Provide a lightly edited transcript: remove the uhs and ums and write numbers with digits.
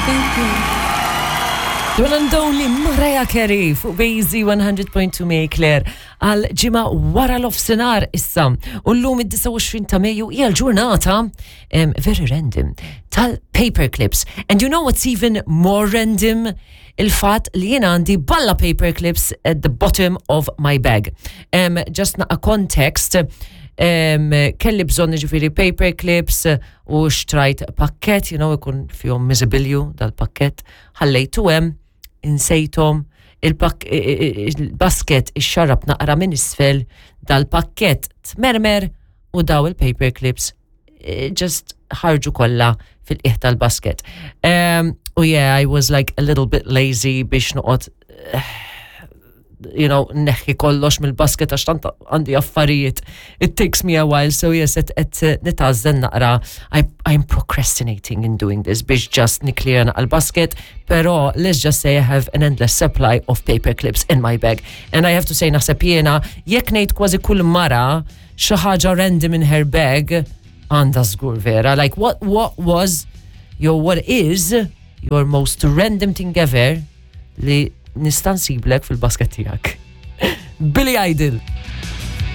Thank you. The one and only Mariah Carey fuq Bazy 100.2 May Claire għal ġimgħa wara l-ofsinar issa. U llum id-29 ta' Mejju hija l-ġurnata um, very random tal-paper clips. And you know what's even more random? Il-fat li jien għandi balla paper clips at the bottom of my bag. Um, just naqa context, um, kelli bżonn ġifiri paper clips u xtrajt pakket, you know, ikun fihom miżibilju dal-pakket, ħallejtu hemm, insejthom, il-basket ixxarrab naqra minn isfel, dal-pakket tmermer u daw il-paper clips eh, just ħarġu kollha fil-qiegħ tal-basket. Um, u yeah, I was like a little bit lazy biex noqgħod eh, you know, neħħi kollox mill-basket għax tant għandi affarijiet. It takes me a while, so yes, et, et eh, nitgħażżen naqra. I, I'm procrastinating in doing this biex just niklir naqra l-basket, pero let's just say I have an endless supply of paper clips in my bag. And I have to say naħseb jiena, jekk ngħid kważi kull mara xi ħaġa random in her bag, għandha żgur vera. Like what, what was your, what is your most random thing ever li nista' nsiblek fil-basket tiegħek. Billy Idol.